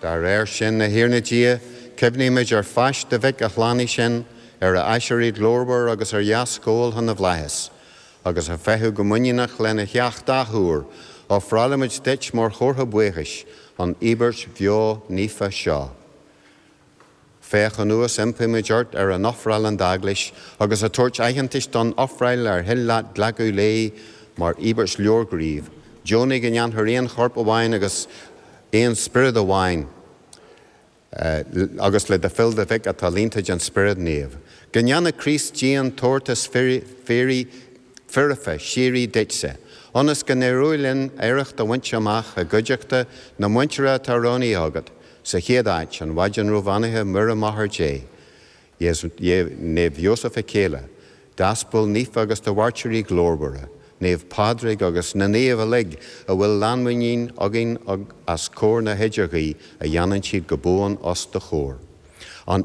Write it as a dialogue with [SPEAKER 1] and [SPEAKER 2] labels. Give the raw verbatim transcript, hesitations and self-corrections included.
[SPEAKER 1] Dá réir sin, a Thiarna Dia, cuimhnímid ar phaist do Mhic a shlánaigh sinn, ar a aiséirí glórmhar agus ar dheascabháil na bhflaitheas, agus ag feitheamh go muiníneach lena theacht athuair, ofrálaimid duit mar chomhartha buíochais an íobairt bheo naofa seo. Féach anuas, impímid ort, ar an ofráil an d'eaglais, agus ag tabhairt aitheantais don ofráil ar thoil leat glacadh léi mar íobairt leorghnímh, Deonaigh go ndéanfar aon chorp amháin agus aon spiorad amháin, agus le do fhuil do Mhic atá líonta den Spiorad Naomh. Go ndéana Críost Dia an tabhartas fíoraí foirfe síoraí duitse, ionas go n-éireoidh linn oidhreacht a bhaint amach i gcuideachta na muintire atá roghnaithe agat, sa chéad áit, an Mhaighdean róbheannaithe Muire Máthair Dé, Naomh Iósaf a céile, d'aspail naofa agus do mhairtírí glórmhara, Naomh Pádraig agus na naoimh uilig a bhfuil lánmhuinín againn as comhair na hidirghuí a dhéanann siad go buan os do chomhair. An